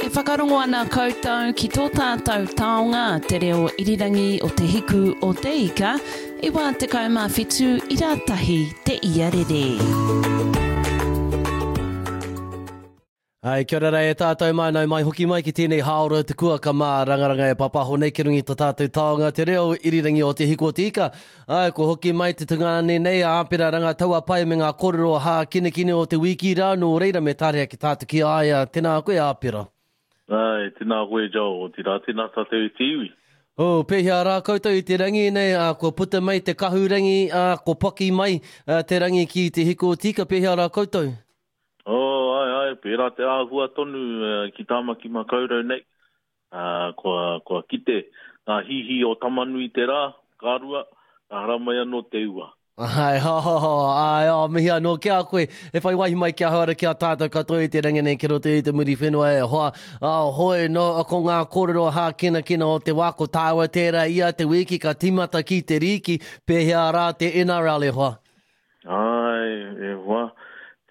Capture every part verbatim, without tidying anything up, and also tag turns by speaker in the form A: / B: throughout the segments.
A: E whakarongo ana koutou ki tō tātou taonga te reo irirangi o Te Hiku o Te Ika, i wā tekau mā whitu i rātahi te iarere.
B: Ai, kia ora e tātou mai, nau mai hoki mai ki tēnei hāora te kuaka mā rangaranga e papaho nei ki runga i tō tātou taonga te reo irirangi o Te Hiku o Te Ika. Ai, ko hoki mai te tungāne nei a Āpera Rangataua Pai me ngā kōrero hākinakina o te wiki rā, nō reira me tarea ki tātou ki a ia. Tēnā koe, Āpera.
C: Ai, tēnā koe, Joel, otirā, tēnā tātou i te iwi.
B: Oh, pēhea rā koutou i te rangi nei, ā, kua puta mai te kahurangi, ā, kua paki mai ā, te rangi ki Te Hiku o Te Ika, pēhea rā koutou?
C: Oh, ai, ai, pērā te āhua tonu uh, ki Tāmaki Makaurau nei. Uh, kua, kua kite ngā hihi o Tamanui te rā, ka rua, ka haramai anō te ua.
B: Ai, ho, ho, ho, ai, oh, mihi anō ki a koe. E whai wāhi mai ki ahau ara ki a tātou katoa i te rangi nei ki roto i te Muriwhenua e hoa. Oh, hoi, no, ko ngā kōrero hākinakina o te wā, ko tāua tērā ia te wiki ka tīmata ki te rīki, pēhea rā te N R L e hoa?
C: Ai, e hoa,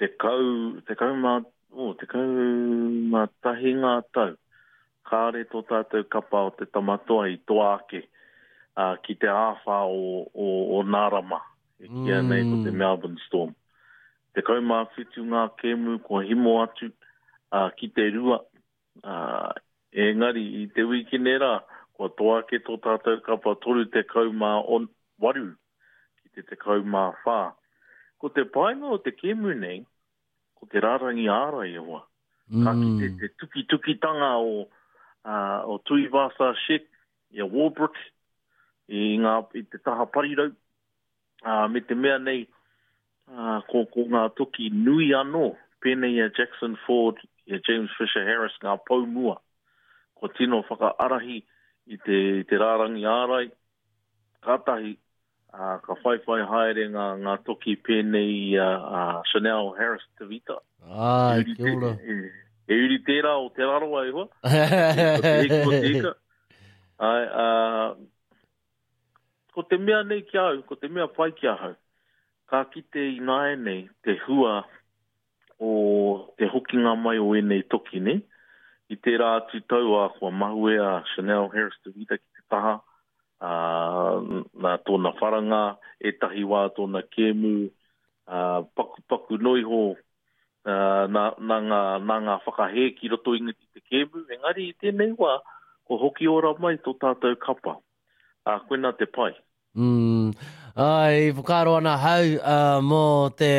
C: tekau, tekau mā, oh, tekau mā tahi ngā tau. Kāre tō tātou kapa o te Tamatoa i toa ake, uh, ki te āwhā o, o, o Nārama. E kīia nei ko te
B: Mm.
C: Melbourne Storm. Tekau mā whitu ngā kēmu kua himo atu, uh, ki te rua. Uh, engari i te wikine rā, kua toa ake tō tātou kapa toru tekau mā on, waru ki te tekau mā whā. Ko te painga o te kēmu nei, ko te rārangi ārai e hoa. Ka kite
B: Mm.
C: te tukitukitanga o, uh, o Tuivasa-Sheck, i a Warbrick, i, ngā, i te taha parirau. Uh, me te mea nei, uh, ko, ko ngā toki nui anō, pēnei i a Jackson Ford, i a James Fisher Harris, ngā poumua. Ko tino whakaarahi i te, i te rārangi ārai, kātahi, uh, ka whaiwhai haere ngā, ngā toki pēnei i a, a Chanel Harris Tavita.
B: Ai,
C: E uri
B: kia ora.
C: te, e, e uri tērā o Te Rarawa e hoa. Ko te hiku o te ika. Ai, uh, ko te mea nei ki au, ko te mea pai ki ahau, ka kite i nāianei te hua o te hokinga mai o ēnei toki nei. I tērā atu tau a kua mahue a Chanel Harris Tavita ki te taha, ā, nā tōna wharanga, ētahi wā tōna kēmu, ā, paku, paku noiho, ā, nā, nā ngā, nā ngā whakahē ki roto i te kēmu, engari i tēnei wā, ko hoki ora mai tō tātou kapa. Ā, koina te pai.
B: Mm. Ai, whakaaro ana hau, uh, mō te,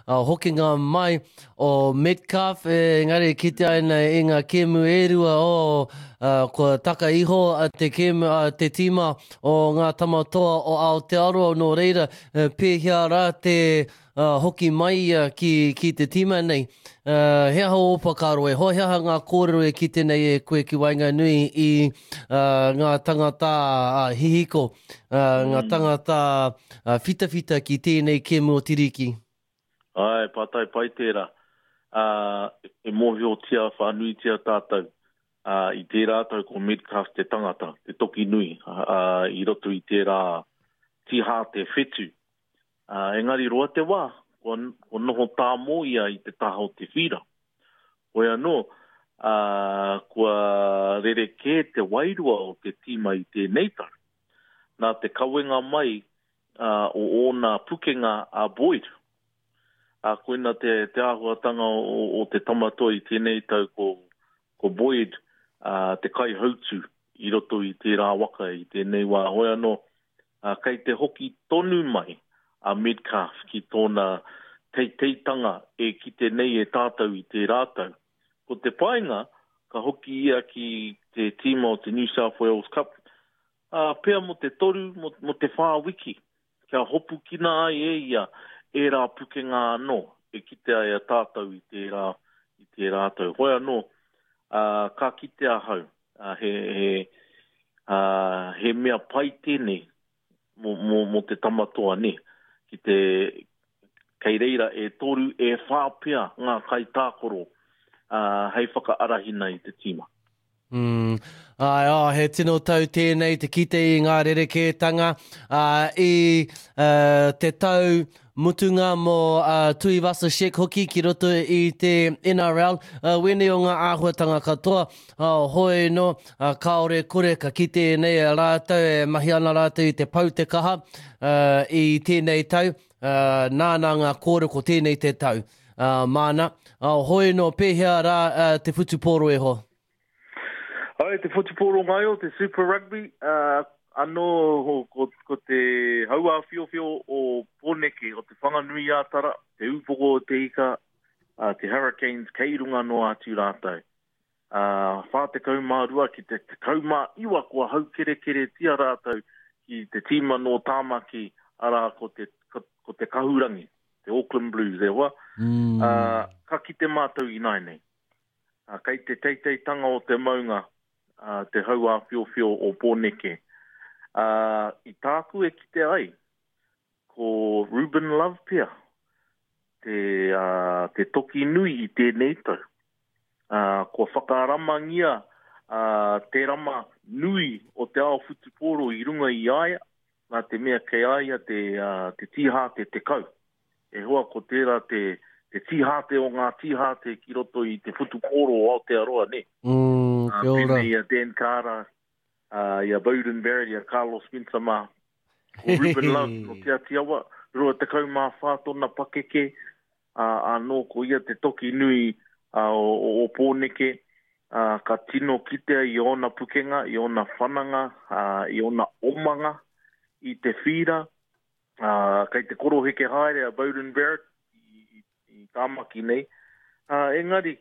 B: uh, hokinga mai o Metcalf, e, engari ki te aina i ngā kēmu e rua o, uh, kua taka iho a te kēmu, a te tīma o ngā tamatoa o Aotearoa, nō reira, e, pēhea rā te, uh, hoki mai ia ki, ki te tīma nei. Uh, he aha o whakaaro e hoa, he aha ngā kōrero e kite nei e koe ki waenganui i, uh, ngā tangata, uh, hihiko, uh, ngā
C: Mm.
B: tangata, uh, whitawhita ki tēnei kēmu o Tiriki?
C: Ai, pātai pai tērā. Uh, e mōhiotia whānuitia tātou. Uh, i tērā tau ko Metcalf te tangata, te toki nui, uh, i roto i tērā tihā te whetu. Uh, engari roa te wā, kua, kua noho tāmō ia i te taha o te whira. Hoi anō, uh, kua rerekē te wairua o te tīma i tēnei tau. Nā te kawenga mai, uh, o ōna pukenga a Boyd. Uh, koina te, te āhuatanga o, o te tamatoa i tēnei tau ko, ko Boyd, uh, te kaihautu i roto i tērā waka i tēnei wā. Hoi anō, uh, kei te hoki tonu mai a Metcalf ki tōna teiteitanga e kite nei e tātou i tērā tau. Ko te painga, ka hoki ia ki te tīma o te New South Wales Cup, uh, pea mo te toru, mo, mo te whā wiki, kia hopukina ai e ia e rā pukenga anō, e kite ai a tātou i tērā, i tērā tau. Hoi anō, uh, ka kite ahau, uh, he, he, uh, he mea pai tēnei mō, mō, mō te tamatoa ne, ki te kei reira e toru e whā pea ngā kaitākoro, uh, hei whakaarahina i te tīma.
B: Mm. Ai, oh, he tino tau tēnei te kite i ngā rerekētanga uh, i uh, te tau mutunga mō uh, Tuivasa-Sheck hoki ki roto i te N R L. Uh, wēnei o ngā āhuatanga katoa, uh, hoi no, uh, kāore kore ka kite nei rātou, e mahi ana rātou i te pau te kaha uh, i tēnei tau, uh, nāna ngā kōrero ko tēnei te tau. Uh, māna, uh, hoi no, pēhea rā uh, te whutupōro e ho?
C: Ai, te whutupōro ngaio, te Super Rugby, uh, anō ko, ko te hauāwhiowhio o Pōneke, o te Whanganui-ā-Tara, te Ūpoko o te Ika, uh, te Hurricanes, kei runga noa atu rātou. Uh, whā tekau mā rua ki te tekau mā iwa kua haukerekeretia rātou ki te tīma nō Tāmaki, arā ko te, ko, ko te Kahurangi, te Auckland Blues, e hoa.
B: Mm.
C: Uh, ka kite mātou i nai nei. Uh, kei te teiteitanga o te maunga, uh, te hauāwhiowhio o Pōneke. Uh, i tāku e kite ai, ko Ruben Love pea, te, uh, te toki nui i tēnei tau. Uh, kua whakaramangia uh, te rama nui o te ao whutupōro i runga i aia, nā te mea kei aia te, uh, te tīhāte te kau. E hoa ko tērā te, te tīhāte o ngā tīhāte ki roto i te whutupōro o Aotearoa, ne?
B: Mm, kia ora.
C: Uh, pēnei a Dan Carter, uh, i a Beauden Barrett, i a Carlos Spencer mā. Ko Ruben Love no Te Atiawa, rua tekau mā whā tōna pakeke, uh, anō ko ia te toki nui uh, o, o, o Pōneke, uh, ka tino kitea i ōna pukenga, i ōna whananga, uh, i ōna omanga, i te whira, uh, kei te koroheke haere a Beauden Barrett i, i, i Tāmaki nei. Uh, engari,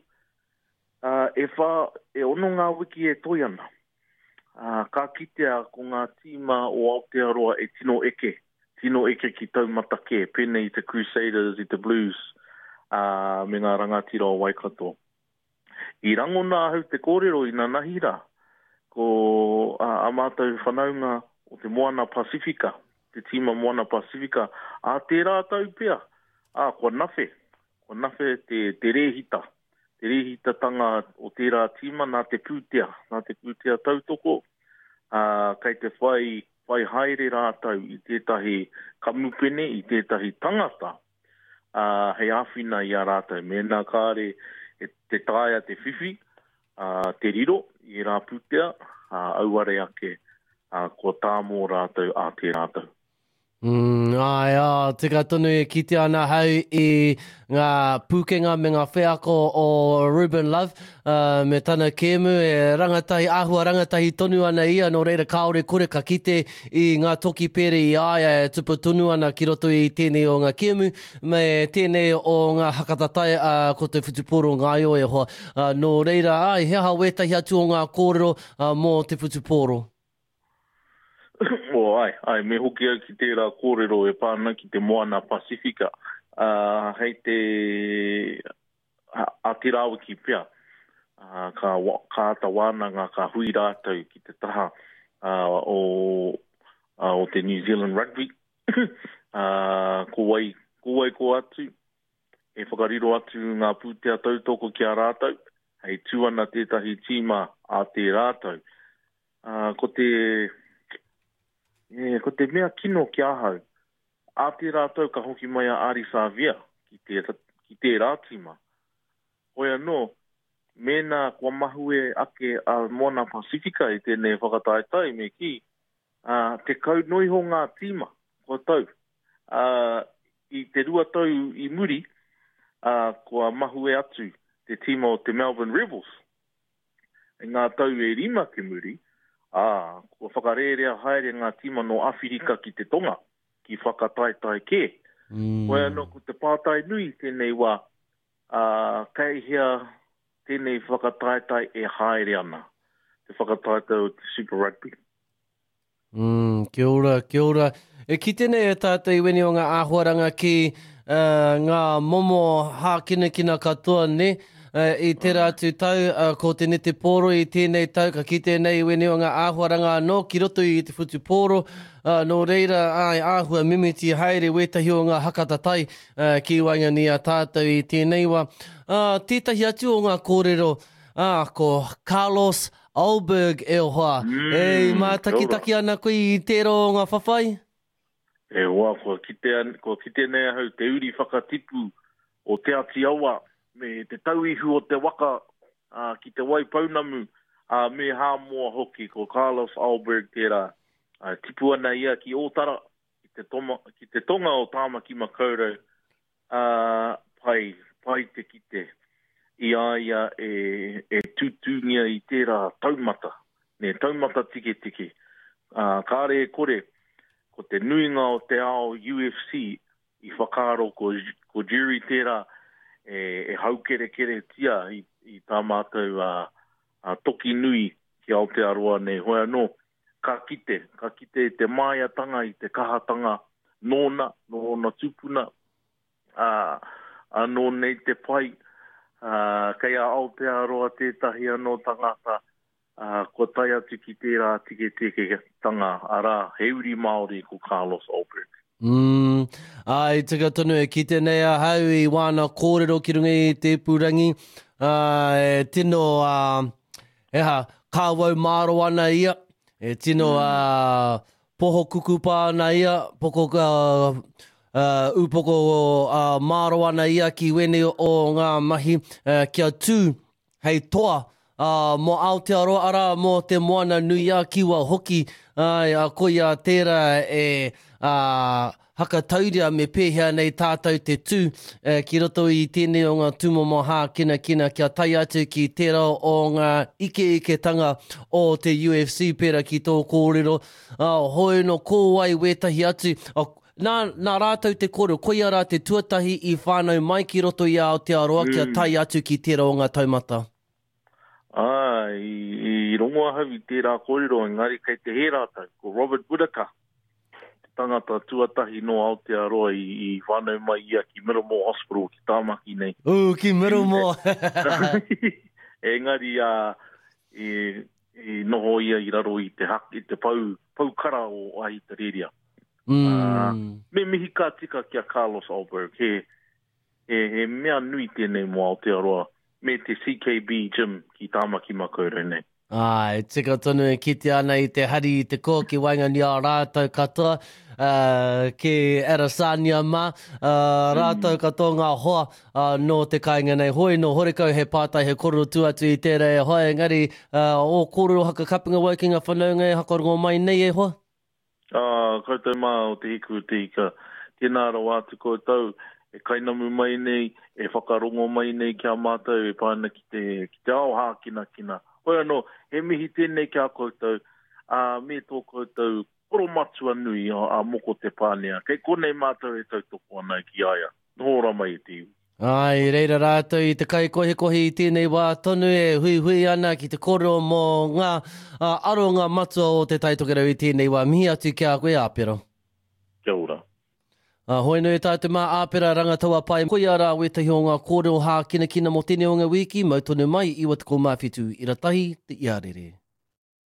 C: uh, e, whā, e ono ngā wiki e toi ana. Uh, ka kitea ko ngā tīma o Aotearoa e tino eke, tino eke ki taumata kē, pēnei i te Crusaders, i te Blues, uh, me ngā rangatira o Waikato. I rangona ahau te kōrero i nanahi rā, ko uh, a mātou whanaunga o te Moana Pasifika, te tīma Moana Pasifika, a tērā tau pea, a kua nawhe, kua nawhe te, te rēhita, te rēhitatanga o tērā tīma nā te pūtea, nā te pūtea tautoko, uh, kei te whai, whai haere rātou i tētahi kamupene, i tētahi tangata, uh, hei āwhina i a rātou. Mēnā kāre e te taea te whiwhi, uh, te riro i rā pūtea, uh, auare ake, uh, kua tāmō rātou a te rātou.
B: Mm, ai, oh, tika tonu e kite ana hau i ngā pūkenga me ngā wheako o Ruben Love, uh, me tana kēmu e rangatahi, āhua rangatahi tonu ana ia, nō reira kāore kore ka kite i ngā toki pere i aia e tupu tonu ana ki roto i tēnei o ngā kēmu, me tēnei o ngā hakatatai uh, ko te whutupōro ngaio e hoa. Uh, nō reira, ai, he aha wētahi atu o ngā kōrero uh, mō te whutupōro?
C: Oh, ai, ai, me hoki au ki tērā kōrero e pāna ki te Moana Pasifika. Uh, hei te a, a te rāwiki pea, uh, ka, ka ata wānanga, ka hui rātou ki te taha uh, o, uh, o te New Zealand Rugby. uh, ko wai, ko wai ko atu, e whakariro atu ngā pūtea tautoko ki a rātou, hei tū ana tētahi tīma a te rātou. Uh, ko te... E, ko te mea kino ki ahau, a te rātou ka hoki mai a Ari Savia ki te, ki tērā tīma. Hoi anō, mēnā kua mahue ake a Moana Pasifika i tēnei whakataetae me ki, uh, te kau noiho ngā tīma, kua tau. Uh, i te rua tau i muri, uh, kua mahue atu te tīma o te Melbourne Rebels. I ngā tau e rima ki muri, ā, kua whakarērea haere ngā tīma no Awhirika ki te tonga, ki whakataetae kē.
B: Mm.
C: Koe anō ko te pātai nui tēnei wā, ā, kei hea tēnei whakataetae e haere ana, te whakataetae o te Super Rugby.
B: Mm, kia ora, kia ora. E kite nei e tātou i weni o ngā āhuaranga ki uh, ngā momo hākinakina katoa, ne? Uh, i tērā atu tau, uh, ko te netepōro i tēnei tau, ka kite nei i weni o ngā āhuaranga anō ki roto i te whutupōro, uh, nō reira ai āhua mimiti haere wētahi o ngā hakatatai uh, ki waenganui a tātou i tēnei wā. Uh, tētahi atu o ngā kōrero, uh, ko Carlos Ulberg e hoa.
C: Mm,
B: E mātakitaki ana koe i tērā o ngā whawhai?
C: E hoa, kua kite, kua kite nei ahau te uri whakatipu o Te Ati Awa me te tauihu o te waka uh, ki te Waipounamu uh, me Hāmoa hoki, ko Carlos Ulberg tērā. Uh, tipu ana ia ki Ōtara, ki te, toma, ki te tonga o Tāmaki Makaurau. Uh, pai, pai te kite i a ia e, e tūtūngia i tērā taumata, ne, taumata tiketike. Uh, kāre e kore, ko te nuinga o te ao U F C i whakaaro ko, ko Jury tērā e, e haukerekeretia i, i tā mātou uh, uh, toki nui ki Aotearoa nei. Hoi anō, ka kite, ka kite i te māiatanga, i te kahatanga nōna, nōna tūpuna, uh, anō nei te pai, uh, kei a Aotearoa tētahi anō tangata, uh, kua tae atu ki tērā tiketiketanga, arā, he uri Māori ko Carlos Ulberg.
B: Mm, ai, tika tonu e kite nei ahau i wāna kōrero ki runga i te ipurangi. Uh, e tino, uh, eha, kāwau māro ana ia, e tino mm. uh, poho kukupa ana ia, poko, uh, uh, upoko uh, māro ana ia ki wene o ngā mahi, uh, kia tū hei toa uh, mō Aotearoa, arā, mō te Moana nui a Kiwa hoki, ai, uh, koia tērā e uh, hakatauria me pēhea nei tātou te tū eh, ki roto i tēnei o ngā tūmomo hākinakina kia tae atu ki tērā o ngā ikeiketanga o te U F C pērā ki tō kōrero. Uh, hoi no ko wai wētahi atu. Uh, nā, nā rātou te kōrero, koia rā te tuatahi i whānau mai ki roto i Aotearoa mm. kia tae atu ki tērā o ngā taumata.
C: Ah, i, i rongo ahau i tērā kōrero, engari kei te hē rātou, ko Robert Whittaker, te tangata tuatahi no Aotearoa i, i whānau mai ia ki Middlemore Hospital ki Tāmaki nei.
B: Ū, ki Middlemore!
C: Engari uh, i, i noho ia i raro i te, hak, i te pau, paukara o Ahitereiria.
B: Mm.
C: Uh, me mihi ka tika ki a Carlos Ulberg, he, he, he mea nui tēnei mō Aotearoa me te C K B gym ki Tāmaki Makaurau nei.
B: Ai, tika tonu e kite ana i te hari i te kō ki waenganui a rātou katoa, uh, ki Arasania mā, uh, rātou katoa ngā hoa uh, nō te kāinga nei. Hoi no horekau he pātai he kōrero tu atu i tērā e hoa, engari uh, o kōrero hakakapinga wau ki ngā whanaunga e hakarongo mai nei e hoa?
C: Ah, koutou mā o te hiku te ika, tēnā rawa atu koutou e kainamu mai nei, e whakarongo mai nei ki a mātou e pāna ki te, ki te ao hākinakina. Hoi anō, he mihi tēnei ki a koutou, a me tō koutou koromatua nui a, a Moko Te Pānea. Kei konei mātou e tautoko ana ki a ia. Noho ora mai e te iwi.
B: Ai, reira rātou i te kaikohikohi i tēnei wā tonu e huihui ana ki te kōrero mō ngā uh, aronga matua o te Tai Tokerau i tēnei wā. Mihi atu ki a koe, Āpera.
C: Kia ora.
B: Uh, hoi nui tātou mā Āpera Rangataua Pai. Koia rā wētahi o ngā kōrero hākinakina mō tēnei o ngā wiki, mau tonu mai iwa tekau mā whitu ira tahi te iarere.